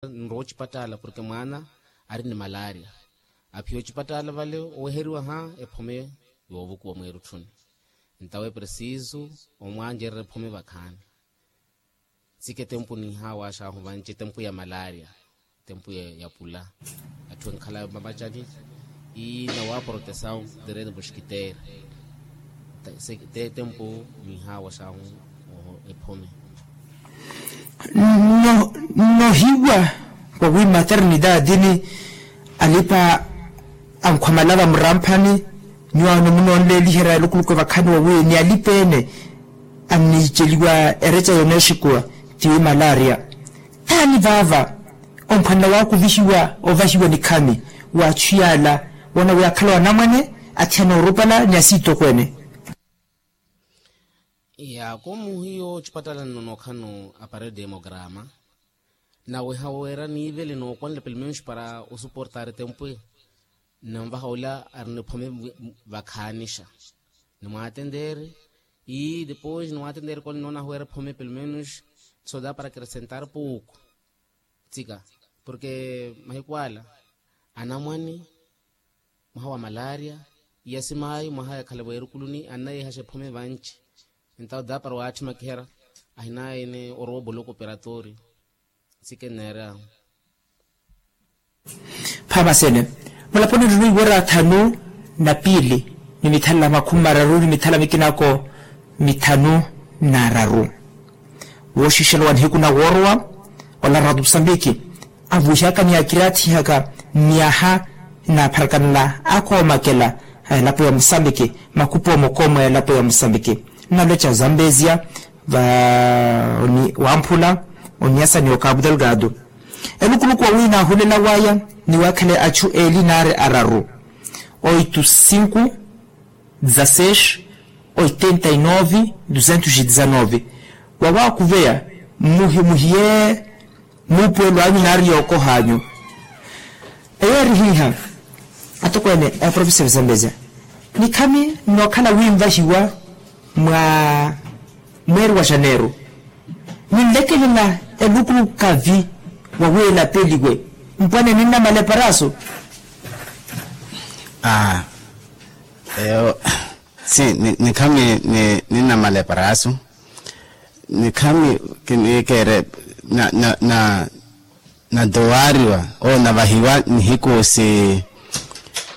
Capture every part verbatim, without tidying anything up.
nrowa ocipattaala porke mwaana ari ni malaaria. Aphiya ocipattaala vale oweheriwa ha ephome yoovukuwa mweerutthuni. Ntawe presisu omwancererya ephome vakhaani. Tsike tempu ninhawaxahu vanci tempu ya malaaria, tempu ya pula. Atthu enkhala mamacani. Ii nawa protesaw, terene muskitere. Te tempu ninhawaxahu ephome. Nnohiwa wawi maternidade ni alipa ankhwamala vamramphani. Nyuwaano munoonleeliherya elukuluku evakhani wawi ni alipa ene anniiceliwa ereca yooneexikuwa tiwi malaaria. Taani vaava onkhwanela waakuvihiwa ovahiwa nikhami wa achu yaala woona wi akhala wanamwane athiyana orupala ni asiitokweene. Yaako muhiyo ocipattala nno nookhano aparede emograma naweha weera niivele nookwanela pelumenus para osuportari tempu eyo. Nnanvaha ola arina ephome vakhaanixa. Nimwaatenteeri ii depois nimwaatenteeri kole nnoonaha weera ephome pelumenus soda para kiresentari puuku. Tsika porke mahiku ala anamwane mwaha wa malaaria iya simaayi mwaha yakhala weerukuluni annayeehaxa ephome vanci. Entawo da para waattimakiherya ahinayene orowa oboloko operatorio. Tsike nneerya. Phamasene mulaponi nrino iwera thanu na piili ni mithala makhumi mararu ni mithala mikinako mithanu n'araru. Wooxixela wa nihiku na woorowa ola rato musambiki avuhihaka ni akiraathihaka myaha n'apharakanela akoomakela a elapo ya musambiki makhupu omokooma ya elapo ya musambiki nnaloca zambezia va wamphula oniasa ni okabu delgado. Elukuluku wawi naahulela waya ni wakhele achu eeli naari araru oitu sinku dezaseix oitenta e nove duzentos e dezanove. Wawaakuveya mmuhimuhiye muupuwelo anyu naari yookoha anyu. Eyo eri hiiha atokweene eprofesor zambezia nikhami nnookhala winvahiwa mwa mweeri wa janeiro. Ninlekelela elukuluku kavi wawi elapeliwe mpwane ninnamala eparaso. Aa eyo si nikhami ninnamala eparaso. Nikhami kiniikeere na na na natowaariwa oo navahiwa nihiku si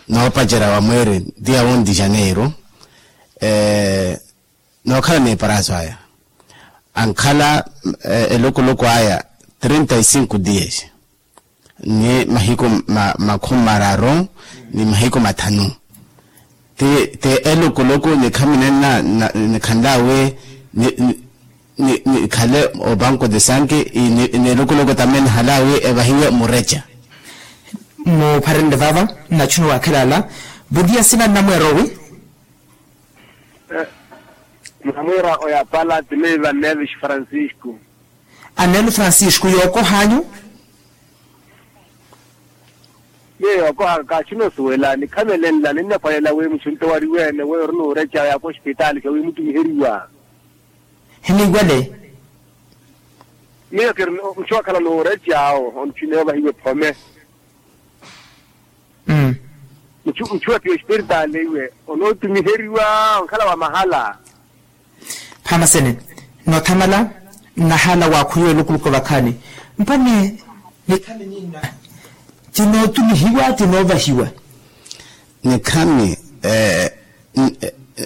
noopacerya wa mweeri dia onti janeiro. Nookhala n'eparaso aya ankhala elukuluku aya trinta e cinco dias ni mahiku makhumi mararu ni mahiku mathanu. Ti elukuluku nikhami nenna nikhanlaawe nikhale opanku de sanki. Ni elukuluku tamene nihalaawe evahiwe mureca. Mupharenle vava nnachuna wakhela ala. Buriya sina nnamweera owi? Namwiira oyapala ti meiva nevis francisco. Anelo francisco yookohanyu. Miyo yookohaka kaaxina osuwela nikhamelenla ninnaphwalela wi muxunto wariweene weyo ori nuureca yaaka ospitaali khawimutumiheriwa. Hiniwale. Miyo kiri muxu wakhala nuureca awo ontthineyo vahiwe phome. Mmm. Muxu muxu wa piya ospiritaali iwe onootumiheriwa onkhala wa mahala. Phamasene noothamala nnahala waakhwiwa elukuluku vakhaani. Mpani nikhami ninna tinootumihiwa tinoovahiwa. Nikhami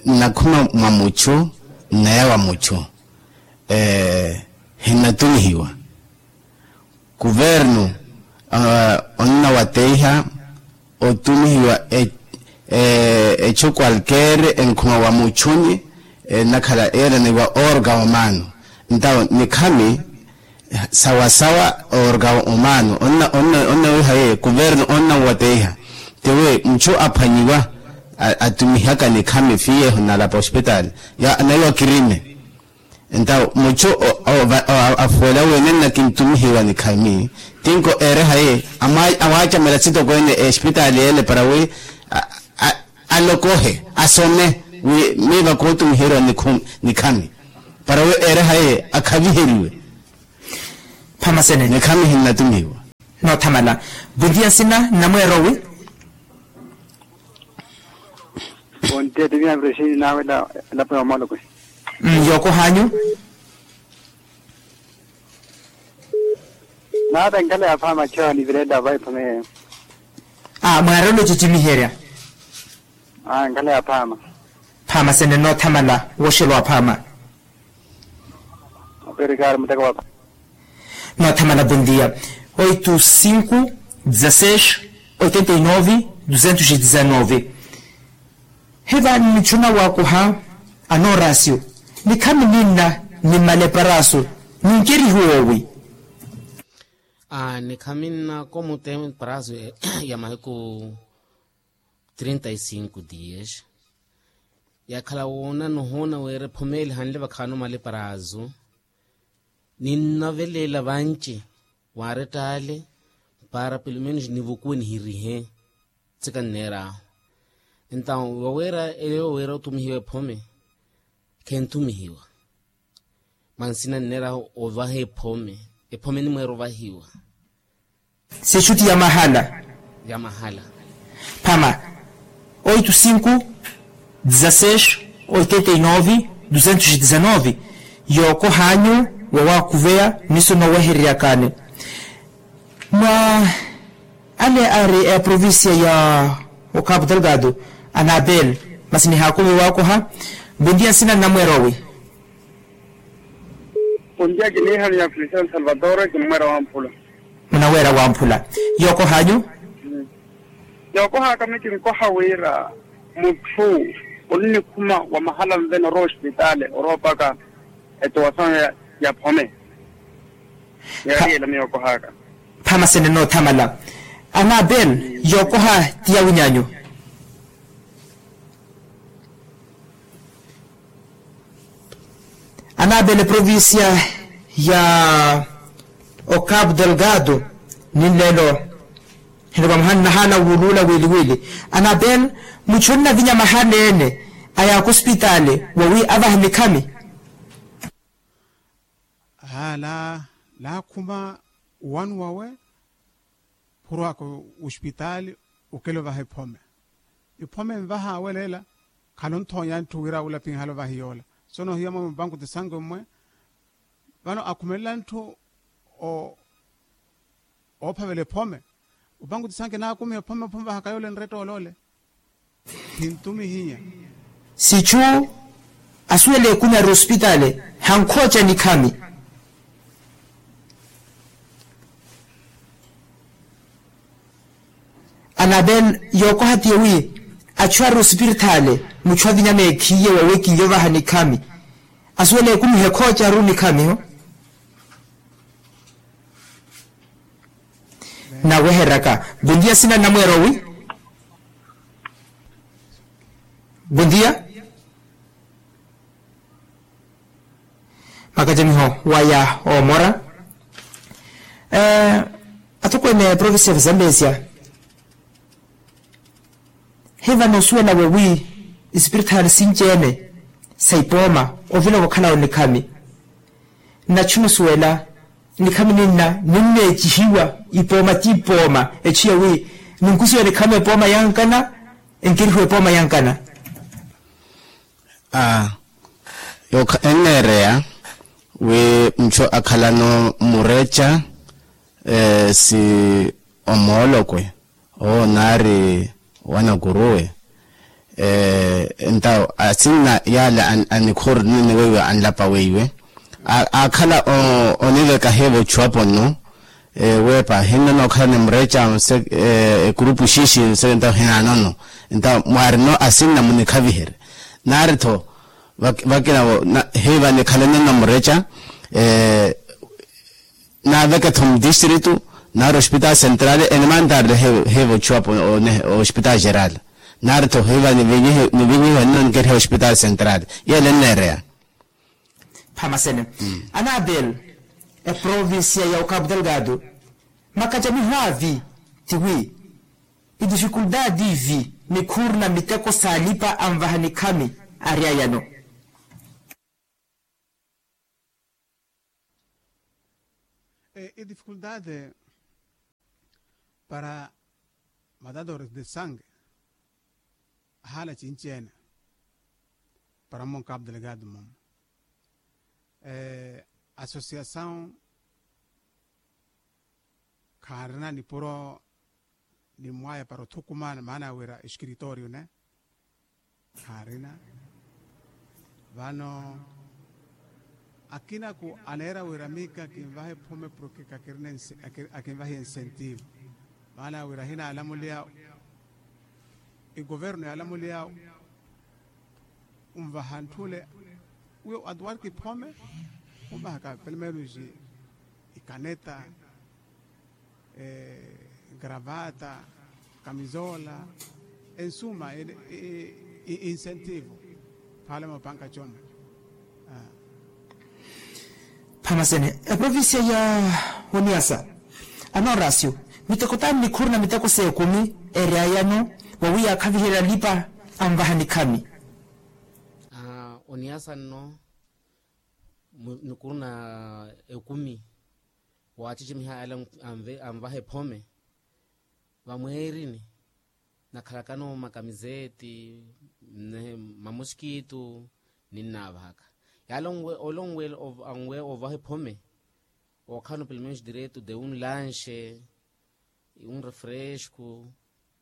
nnakhuma mwa muxu nnaya wa muxu hinnatumihiwa. Kuvernu onnawateiha otumihiwa echu kwalkeere enkhuma wa muchunyi ennakhala eeraniwa orga omano. Ntawo nikhami sawasawa orga omano onnawiha ye kuvernu onnawateiha. Tiwi muchu aphwanyiwa atumihaka nikhami fiyeeho nalapa ospitaali ya naiwa kirime. Entawo muchu afuwela wi nenna kintumihiwa nikhami tinko eerehaye amwaacamela sitokweene espitaali ele para wi alokohe asome wi miiva kootumiheriwa nikhami para wi eerehaye akhaviheriwe. Phamasene nikhami hinnatumihiwa. Noothamala. Bontiya nsina nnamweerowi. Bontiya tiviya mprexini nawe. Elapo ya omolokwe. Yookohanyu. Naata nkhala ya phaama choo nivirela vaiphomeyeyo. Mwaarelo cicimiherya. Nkhala ya phaama. Phaama sene noothamala woxelo wa phaama. Noothamala bontiya. Oito cinco dezasseis oitenta e nove duzentos e dezanove. Hiva nnichuna waakuha anoorasio nikhami ninna ni maleparaaso. Ninkerihiwe owi. Nikhami nna komutemparaaso ya mahiku trinta e cinco dias. Yakhala woona nohoona wira ephomeli hanle vakhaano maleparaaso. Ninnavelela vanci waarettaale para pelumenus nivukuwe nihirihe. Tsika nneer'ahu. Entaw wawira eyo wira otumihiwa ephome khenthumihiwa. Mwa nsina nneer'ahu ovaha ephome. Ephome enimweera ovahiwa. Sixuti ya mahala. Ya mahala. Phama. Oito cinco dezasseis oitenta e nove duzentos e dezanove. Yookohanyu wawaakuveya niso noowehereryakani. Mwa ale ari eprovincia ya okapu delgado. Anabel. Masi nihaakuve waakoha. Bontiya nsina nnamweerowi. Pontiya kiniihani ya kristian salvatore kimmwera wamphula. Munaweera wamphula. Yookohanyu. Yookohaka mikinkoha wira mutthu onnikhuma wa mahala nvene orowa ospitaali orowa opaka etowasawe ya phome. Yariyela miyo okohaka. Phama sene noothamala. Anabel. Yookoha ti yawinyanyu. Anabel eprovincia ya okapu delgado. Ninleelo hino vamuhani nahaana wuuluula wiili wiili. Anabel. Muchu onnavinya mahala ene aya akospitaali wawi avahe nikhami. Aa laakhuma owanu wawe phurwaka ospitaali okela ovaha ephome. Ephome envaha awelela khalonthonya ntthu wira awulapinhala ovaha iyoola. Sono hiya mwe muvanku tisanke mmwe vano akhumelela ntthu oophavela ephome. Opanku tisanke naakumiha ephome ophomo vahaka yoole nretta oloole. Khintumihinya. Sichu asuwela ekumyari ospitaali. Hankhooca nikhami. Anabel. Yookoha tiye wi achu ari ospiritaali muchu avinya meekhiye wawe kiiyo vaha nikhami. Asuwela ekumiha ekhoocaru nikhamiho. Naweheryaka. Bontiya sina nnamweerowi. Bontiya. Makacamiho waya oomora. Atokweene provincia va zambezia. Hiva noosuwela wawi espiritaali sinci-ene sa ipooma ovila okhala onikhami. Nnachu noosuwela nikhami ninna ninneecihiwa ipooma ti ipooma echu yawi ninkusiwa nikhami epooma yankana. Enkerihiwa epooma yankana. Aa enneereya wi muchu akhalano mureca si omoolokwe owo naari wanakuruwe. Entawo asinna yaale anikhoori nini weiwe anlapa weiwe aakhala oniveka hiivo ochuwapo nno. Weepa hinno nookhala ni mureca ekurupu xiixi nse entawo hinaanono. Entawo mwaarino asinna munikhaviherye naari-tho vakina hiiva nikhaleno nno mureca. Naaveke-tho mutistritu naari ospitaali sentrali enimantarele hiiva ochuwapo ospitaali jeral. Naari-tho hiiva nivinyihiwe nno nikeriha ospitaali sentrali. Yeele enneereya. Phama sene. Anabel. Eprovincia ya okapu delgado makacamiho avi tiwi idifikuldadi ivi nikhurina miteko saalipa anvaha nikhami ari ayano. Idifikuldadi para matadores de sange ahaala cinci-ene para mmonkaapu delegado mmomo. Asosiasawu khaarina nipuro nimwaya para othukumana maana ya wira eskiritorio ne khaarina. Vano akinaku aneera wira miika kinvahe phome porke kakirina akinvahiye ensentivo maana ya wira ahinaalamuliya egoverno yaalamuliya unvaha ntthu ole. Uyo atuwarki phome unvahaka pelo menos ikaneta, gravata, kamizola, ensuma insentivo phaala moopanka coma. Phamasene eprovincia ya oniasa. Anorasio miteko tani nikhuru na miteko s'ekumi eryayano wawi yaakhaviherya alipa anvaha nikhami. Oniasa nno nikhuru na ekumi waacecimiha ale anvaha ephome vamweerini nakhalakano makamizeeti, mamoskitu ninnaavahaka yaala onwe ole onwe ovaha ephome. Ookhala no pelo menos direito de un lanche un refresco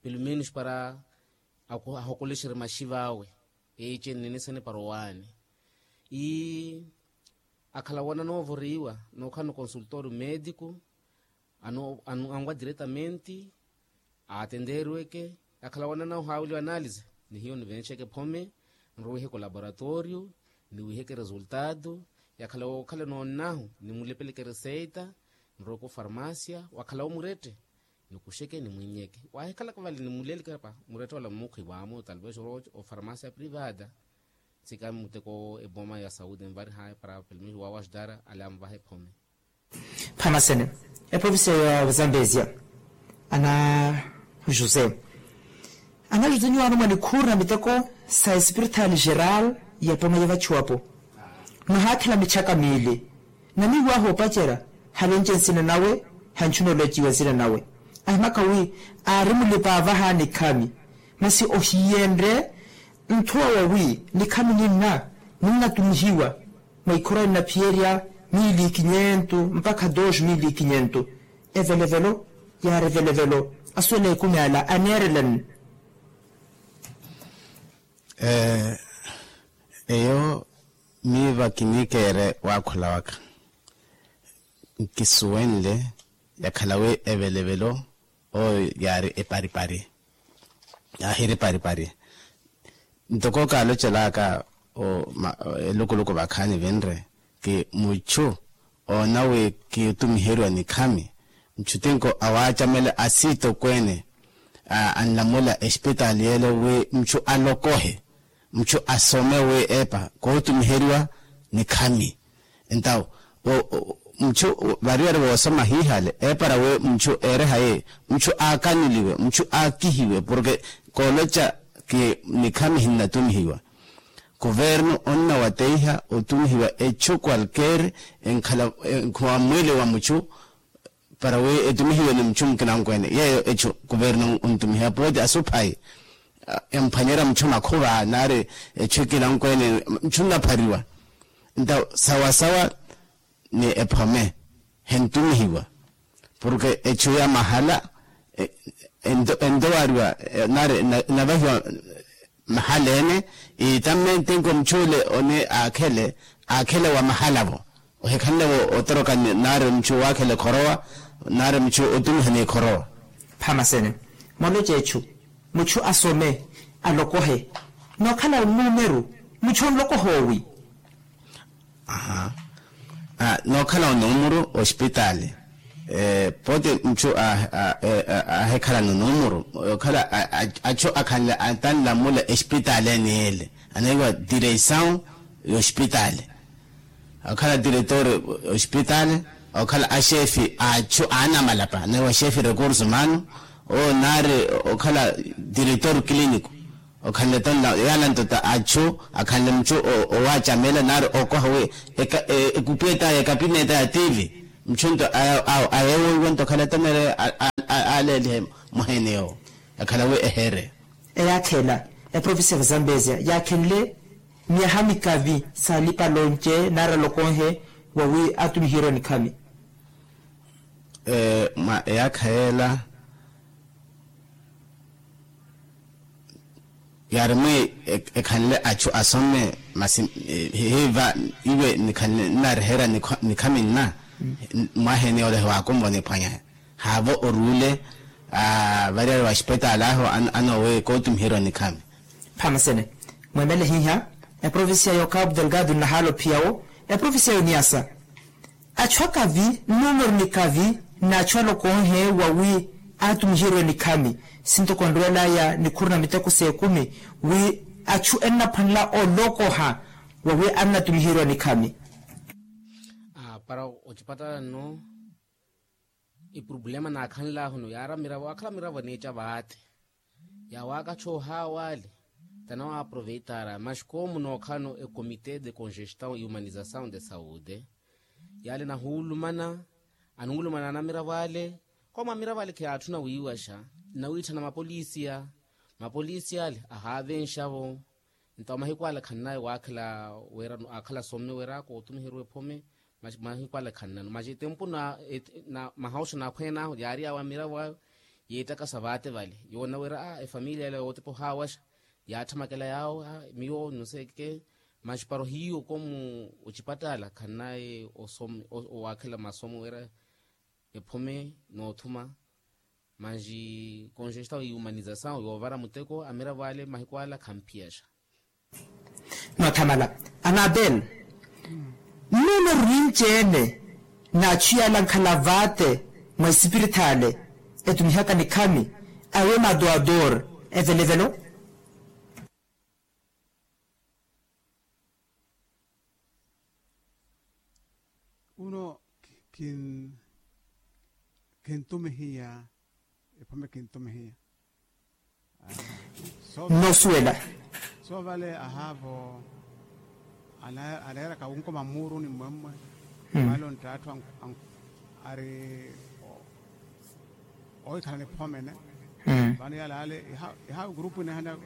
pelo menos para ahokolexerye maxiva awe. Eece nninisene para owaani ii akhala wana noovoriwa nookhala no consultorio medico anwa diretamente aatenteeriweke. Akhala wana nawo haaweliwa analize ni hiyo nivenxeke ephome nrowiheke olaboratorio niwiheke resultado. Yakhala wookhala noonnahu nimulepeleke reseita nroweke ofarmasia wakhala wo murette nikuxeke nimwinnyeke. Waahikhalaka vale nimuleleke apa murette wala mmukhwi waamo talvez ofarmasia privada. Tsika muteko eboma ya saude nvarihaye para pelo menos waawaxudara ale anvaha ephome. Phamasene eprovincia ya zambezia ana jose ana jose nyuwaano mwa nikhuru na miteko sa espiritaali geral ya poma ya vachuwapo. Nahaakhela michaka miili na miiwaha opacerya halenci nsina nawe. Hanchuna oleciwa nsina nawe ahimaka wi aari mulipa avaha nikhami masi ohiyenrye nthuwa wawi nikhami ninna ninnatumihiwa mwa ikhora ninnaphiyerya mili ikinyentu mpakha dos mili ikinyentu. Evelevelo yaari evelevelo asuwela ekumi ala aneerelani. Eyo miiva kiniikeere waakhula waka nkisuwenle yakhala wi evelevelo oyo yaari eparipari. Yaahiri eparipari ntoko kaalocelaka elukuluku vakhaani vinre ki muchu oona wi kitumiheriwa nikhami. Muchu tinko awaacamela asiitokweene anlamula espitaali yeele wi muchu alokohe muchu asome wi epa kootumiheriwa nikhami. Entawo muchu variyari voosoma hiihale eepara wi muchu eerehaye muchu aakaniliwe muchu aakihiwe porke kooloca ki nikhami hinnatumihiwa. Kuvernu onnawateiha otumihiwa echu kwalkeeri enkhala enkhuwa mwili wa muchu para wi etumihiwe ni muchu mukinankweene yeeyo echu kuvernu ontumihiwa pooti asuphayi emphwanyerya muchu makhuva nari echu ekinankweene muchu nnaphariwa. Nta sawasawa ni ephome hentumihiwa porke echu ya mahala entowariwa nari navahiwa mahala ene. Itamme ntinko muchule one aakhele aakhele wa mahala-vo ohikhanle-vo otoroka nari muchu waakhele khorowa nari muchu otumiha ni khorowa. Phamasene moloce echu muchu asome alokohe nookhala onumeru muchu onlokoha owi. Aha nookhala onumeru ospitaali pooti muchu ahekhala nonumeru okhala achu akhanle atanlamula espitaali ene yeele anaiwa direisau yospitaali. Okhala diretor ospitaali okhala axefi achu anamalapa anaiwa xefi recurso humano oo nari okhala diretor clinico. Okhanle tonla yaala nto ta achu akhanle muchu owaacamela nari okoha wi ekupiye ta ya ekapineta ya tivi muchu nto ayeewoiwa nto okhala tonere aleelihe mwaha ene yoowo. Yakhala wi ehere. Eyaakha ela, eprovincia ya vazambezia yaakhenle myaha mikavi saalipa lonce nari alokonhe wawi atumiheriwa nikhami. Mwa eyaakha yeela yaari mwi ekhanle achu asome masi hiiva iwe nikhanle nnareherya nikhami nna mwaha ene yoola hiwaakumva oniphwanya. Haavo oruule variyari wa xipetaali ahu anoowe kootumiheriwa nikhami. Phamasene mwemele hiiha eprovincia yo cabo delgado nnahaala ophiya wo eprovincia yo niasa achu akavi nnumeru nikavi n'achu alokonhe wawi aatumiheriwe nikhami. Sintoko nrwelaya nikhuru na miteko s'ekumi wi achu ennaphwanela olokoha wawi annatumiheriwa nikhami. Para ocipatala nno epurupulema naakhanlahunu yaara miravo akhala miravo eneeca vaate. Yawaakathi ohaawa ale tanawaaproveitara maxi koomu nookhalano ekomite de congestão e humanização de saude. Yaale nahuulumana anuulumana anamiravo ale koomu amiravo ale khiyaatthuna wiiwaxa. Nnawiitthana mapolisiya mapolisiya ale ahaavenxavo. Nto mahiku ale khannaye waakhela wira akhala asome wira kootumiheriwa ephome. Mahiku ale khannano maxi tempu na mahawoxa naakhweenahu yaari yawo amiravo ayo. Yeettakasa vaate vale yoona wira efamiliya ela yootepa ohaawaxa. Yaatthamakela yawo miyo nuseke maxi para ohiyo koomu ocipatala khannaye osome owaakhela masomo wira ephome noothuma. Maxi congestão e humanização yoovara muteko amiravo ale mahiku ala khamphiyaxa. Noothamala anabel nnumeru ninci-ene n'achu yaala ankhala vaate mwa esipirithale etumihaka nikhami awe madoador evelevelo. Uno khintumihiya ephome khintumihiya. Nnoosuwela soovale ahaavo aleeraka wunkoma mmuuruni mmwemmwe. Vale onttaattu ari oikhala niphomene. Vano yalaale iha grupu inehana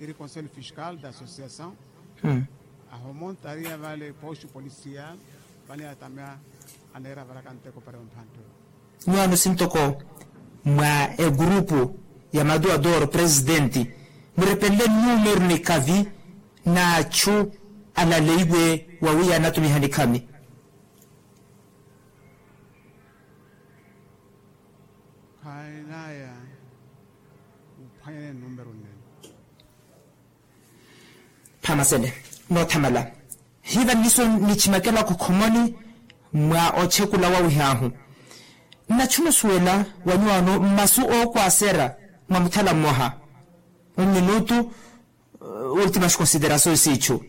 iri conseil fiscal d'association ahomontariya vale postu policial. Vano yatamya aneera valaka nteko para yomphanttelo. Nyuwaano sintoko mwa egurupu ya maduadoro presidenti murepenle nnumeru nikavi n'achu alaleiwe wawiya anatumiha nikhami. Khainaya uphwanyane nnumeru nnene. Phamasele noothamala hiiva nniso nichimakela khukhomoni mwa ochekula wawihaahu. Nnachuna osuwela wa nyuwaano mmasu ookwasera mwa muthala mmoha mminutu ultima skonsiderasoyi siichu.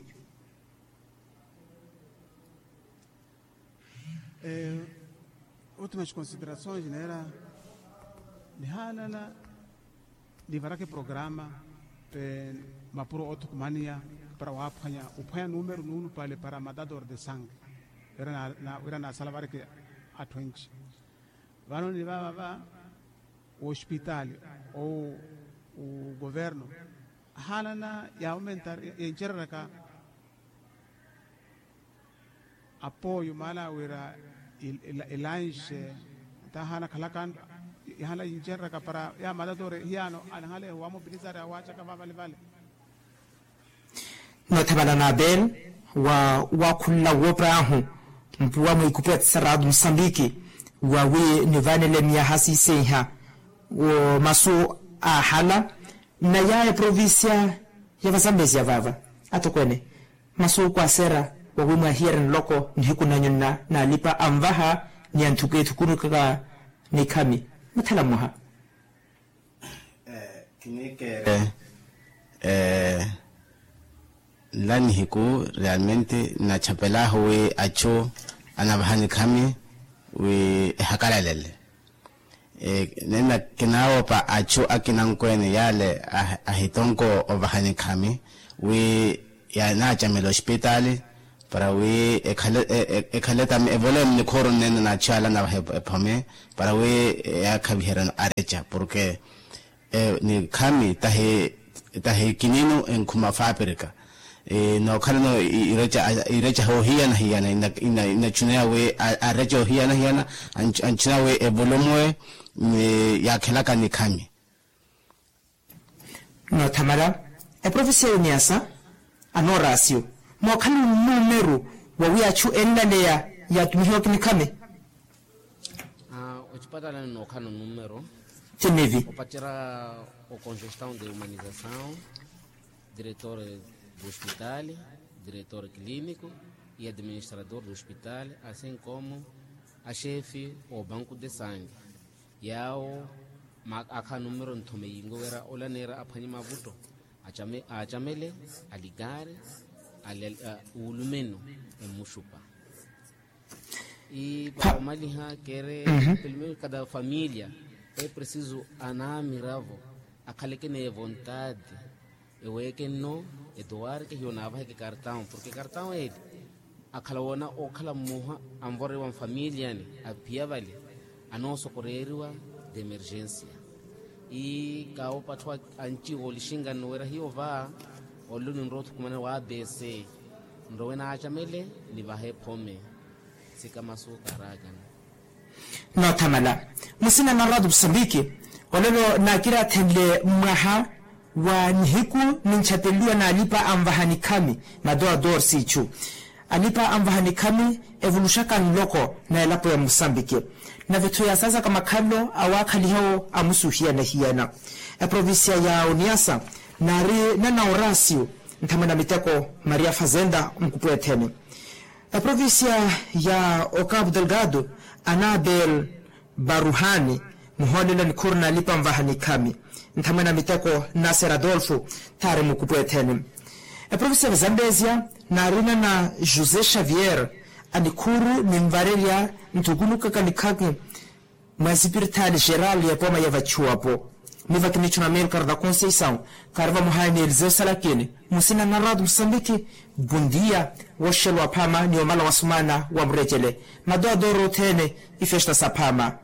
Ultima skonsiderasoyi neera nihaanana nivaraka eprograma mapuro oothukumaniya para waaphwanya uphwanya numeru nuunupale para matador de sange wira naasala vareke atthu enci. Vano ni vava va wospitaali ou ugoverno ahaanana yaawomentar yencereraka apoyo maala wira ilanxe ntahaana khalaka ihaana yincereraka para ya matatore hiyaano anahale wamobilizari awaacaka vavalevale. Noothavala na abel wa wakhunla woopa ahu mpuwa mwiikupu ya tsaratu musambiki wawi nivanele miyaha siisenha wo masu aahala naya eprovincia ya vazambezia vaava atokweene masu okwasera wawi mwahiyerya nloko nihiku nanyu nna naalipa anvaha ni anthuku ethukunukaka nikhami muthala mmoha. Kiniikeere nla nihiku realmente nnachapelaahu wi achu anavaha nikhami wi ehakalalele. Nena kinaawopa achu akina ankweene yaale ahitonko ovaha nikhami wi yanaacamela ospitaali para wi ekhale evolemu nikhooro nneene naatxiyala navaha ephome para wi yaakhaviheryano areca porke nikhami tahi kininu enkhuma faapirika nookhalano ireca hoohiyana hiyana inatxuneya wi areca oohiyana hiyana antxuneya wi evolumu eyo yaakhelaka nikhami. Noothamala eprofesiya ya oniasa anoorasiyo mookhala onumeru wawi achu enlaleya yaatumihiwaka nikhami. Ocipatala ninookhala onumeru tinivi opacerya ocongestão de humanização, diretor do hospital, diretor clínico e administrador do hospital, assim como a chefe o banco de sangue. Yaawo akhala numero nthome yingo wira olaneera aphwanye mavutto acamele alikari uulumeno emmuxupa. Para omaliha kere pelumeru kada familia epresiso anamiravo akhaleke neevontade eweeke nno etuwarke hiyo naavaheke kartawo porke kartawo eli akhala woona okhala mmoha anvorewa nfamiliani aphiya vale anoosokoreeriwa d'emergensia. Ii kawo patthu anci woolixinga nnuwera hiyo va olelo ninrowa othukumana wa abc nrowe naacamele nivahe phome. Sikamasu kaaraakana. Noothamala musina na ratu musambiki olelo naakirathenle mwaha wa nihiku ninchatenliwa n'alipa anvaha nikhami madoador siichu. Alipa anvaha nikhami evuluxaka nloko na elapo ya musambiki nave-tho yaasaasaka makhalelo awaakhalihawo amusuhiyana-hiyana. Eprovincia ya oniasa naari nana orasio nthamwe na miteko maria fazenda nkupweethene. Eprovincia ya ocapo delgado anabel baruhani muhoolela nikhuuru n'alipa anvaha nikhami nthamwe na miteko nasser adolfo thaari mukupweethene. Eprovincia ya zambezia naarina na josé xavier anikhuuru ninvarerya nthukunukaka nikhaki mwa esipiritaali xeral ya epooma ya vachuwapo. Miva kinitthu na milkar na conceição kaari vamohayi ni eliseo salakini musina na ratu musambiki. Bundia woxelwa aphama ni omala wa sumana wa murecele madoadoro othene ifesta saphama.